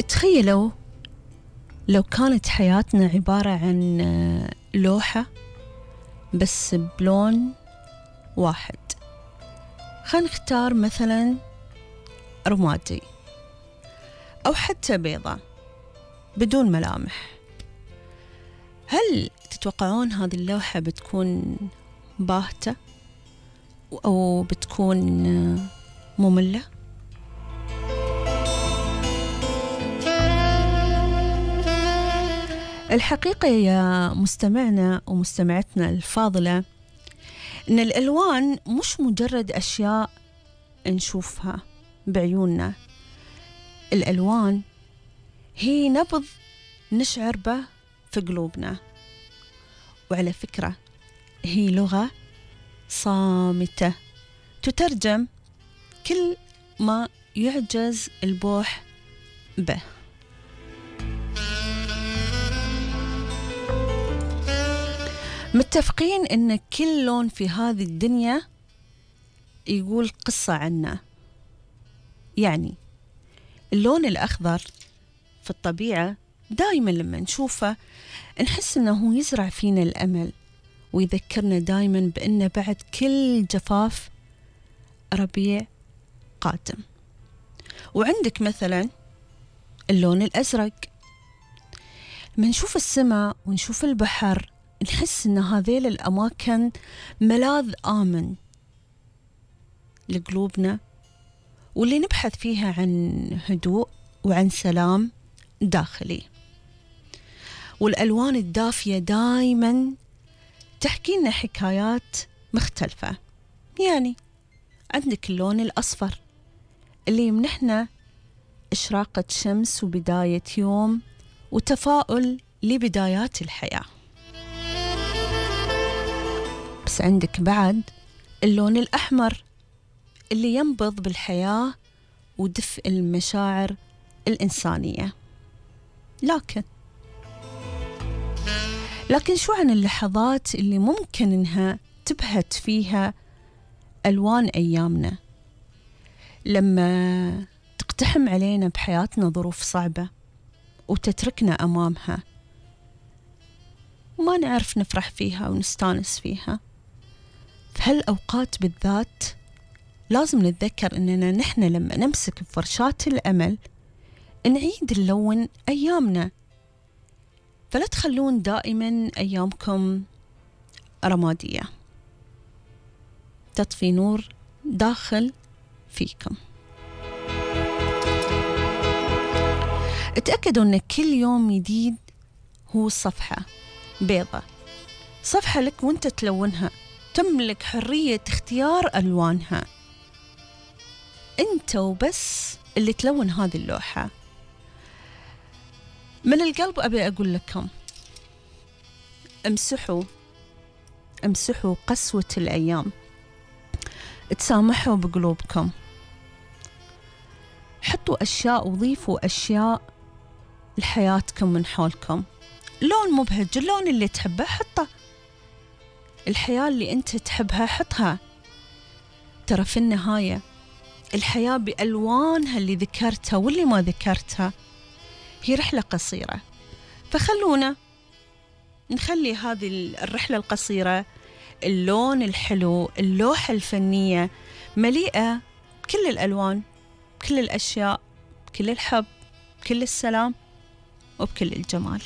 تخيلوا لو كانت حياتنا عبارة عن لوحة بس بلون واحد. خلينا نختار مثلا رمادي أو حتى بيضة بدون ملامح. هل تتوقعون هذه اللوحة بتكون باهتة أو بتكون مملة؟ الحقيقة يا مستمعنا ومستمعتنا الفاضلة إن الألوان مش مجرد أشياء نشوفها بعيوننا. الألوان هي نبض نشعر به في قلوبنا، وعلى فكرة هي لغة صامتة تترجم كل ما يعجز البوح به. متفقين إن كل لون في هذه الدنيا يقول قصة عنا. يعني اللون الأخضر في الطبيعة دائما لما نشوفه نحس إنه يزرع فينا الأمل ويذكرنا دائما بأن بعد كل جفاف ربيع قادم. وعندك مثلا اللون الأزرق، لما نشوف السماء ونشوف البحر نحس إن هذيل الأماكن ملاذ آمن لقلوبنا، واللي نبحث فيها عن هدوء وعن سلام داخلي. والألوان الدافية دايما تحكي لنا حكايات مختلفة. يعني عندك اللون الأصفر اللي يمنحنا إشراقة شمس وبداية يوم وتفاؤل لبدايات الحياة. بس عندك بعد اللون الأحمر اللي ينبض بالحياة ودفء المشاعر الإنسانية. لكن شو عن اللحظات اللي ممكن إنها تبهت فيها ألوان أيامنا، لما تقتحم علينا بحياتنا ظروف صعبة وتتركنا أمامها وما نعرف نفرح فيها ونستانس فيها. في هالأوقات بالذات لازم نتذكر إننا نحن لما نمسك بفرشاة الأمل نعيد نلون أيامنا. فلا تخلون دائما أيامكم رمادية، تطفي نور داخل فيكم. اتأكدوا أن كل يوم جديد هو صفحة بيضة، صفحة لك وانت تلونها، تملك حرية اختيار ألوانها. انت وبس اللي تلون هذه اللوحة. من القلب أبي أقول لكم امسحوا قسوة الأيام، تسامحوا بقلوبكم، حطوا أشياء وضيفوا أشياء لحياتكم من حولكم. لون مبهج، اللون اللي تحبه حطه، الحياة اللي أنت تحبها حطها. ترى في النهاية الحياة بألوانها اللي ذكرتها واللي ما ذكرتها هي رحلة قصيرة، فخلونا نخلي هذه الرحلة القصيرة، اللون الحلو، اللوحة الفنية مليئة بكل الألوان، بكل الأشياء، بكل الحب، بكل السلام، وبكل الجمال.